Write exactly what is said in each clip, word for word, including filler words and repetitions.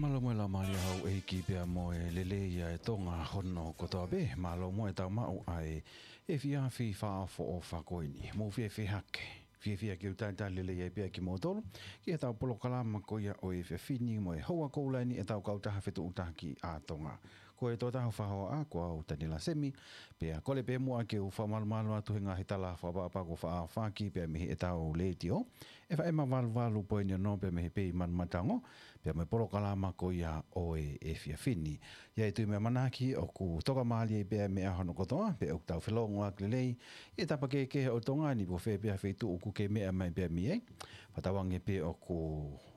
Mālō mo e laumālie ʻa houʻeiki pea mo e lelei ʻa e Tonga hono kotoa pē. Mālō mo e tau maʻu ʻa e efiafi fakaʻofoʻofa ko eni. Mou fiefia hake. Fiefia ke u talitali lelei ai pē kimoutolu ki heʻetau polokalama ko ia ʻo e efiafi ni mo e houa koula eni ʻetau kautaha fetuʻutaki ʻa Tonga. Ko e tokotaha hoʻomou hoa ko au Taniela Semi, pea kole pē muʻa ke u fakamalumalu atu he ngaahi tala fakaʻapaʻapa kuo faʻa ʻohake pea mei heʻetau letiō, FM valu valu poini ono pea mei he Pei Manu Matango, pea mo e polokalama ko ia ʻo e efiafi ni. ʻA ia ʻe tui mo e ʻamanaki ʻoku tokamālie pē ʻa e meʻa hono kotoa, pea ʻoku tau felōngoaki lelei ʻi he tapa kehekehe ʻo Tonga ni, pe ko fē pē ʻa e feituʻu ʻoku ke meʻa mai pē mei ai. Fakatauange pē ʻoku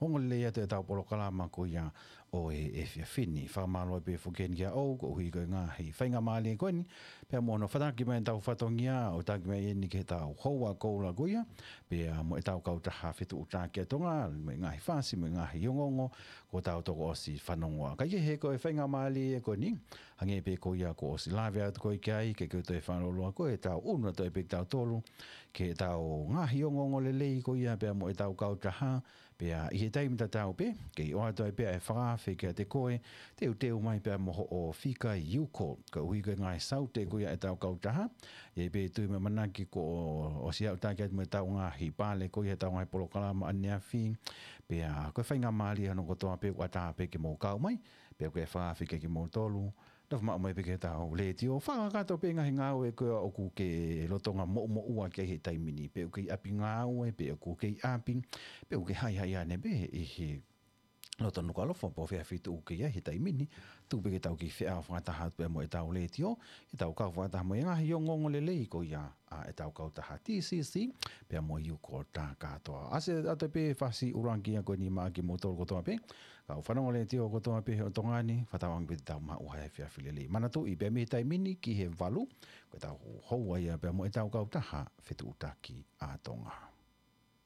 ongo lelei atu ʻetau polokalama ko ia ʻo e efiafi ni. Fakamālō pē foki heni kia ʻoku ʻuhi ko e ngaahi faingamālie ko eni, pea mo hono fataki mai ʻetau fatongia ʻo taki mai eni ki heʻetau houa koula ko ia, pea mo ʻetau kautaha fetuʻutaki ʻa Tonga, mo e ngaahi fasi, mo e ngaahi ongoongo kuo tau toki ʻosi fanongoa. Kae kehe ko e faingamālie ko eni, hangē pē ko ia kuo ʻosi lave atu ko ē ki ai, ke ke toe fanongoa ko ē, tau ʻunu atu pē kitautolu ki heʻetau ngaahi ongoongo lelei ko ia pea mo ʻetau kautaha, pea ʻi he taimi tatau pē, kei ʻoatu ai pē ʻa e fakaafe kiate koe, teuteu mai pea mo hoʻo fika ʻi uko, koeʻuhi ko e ngaahi saute ko ia ʻetau kautaha. ʻA ia pē ʻe tui mo e ʻamanaki kuo ʻosi aʻutaki atu mo ʻetau ngaahi pale ko ia ʻetau ngaahi polokalama ʻaneafi, pea ko e faingamālie hono kotoa pē ʻoku ʻatā pē ke mou kau mai, pea ko e fakaafe kiate kimoutolu, nofo maʻu mai pē ki heʻetau letiō, fakakakato pē ngaahi ngāue ko ia ʻoku ke lolotonga moʻumoʻua ki ai he taimi ni, pe ʻoku ke ʻi ʻapi ngāue, pe ʻoku ke ʻi ʻapi, pe ʻoku ke haihai ʻanepē ʻi he loto Nukuʻalofa, pe ko fē feituʻu ʻoku ke ʻi ai he taimi ni, tuku pē ke tau kiʻi feʻao fakataha atu pea mo ʻetau letiō, ke tau kau fakataha mo e ngaahi ongoongo lelei ko ia ʻa ʻetau kautaha TCC, pea mo e uko tā kātoa. ʻAsi atu pē fasi ʻuluaki ia ko eni maʻa kimoutolu kotoa pē kau fanongo letiō kotoa pē ʻo Tonga ni, fakatauange pē te tau maʻu ha efiafi lelei. Manatuʻi pē mei he taimi ni ki he valu, ko ʻetau houa ia pea mo ʻetau kautaha fetuʻutaki ʻa Tonga.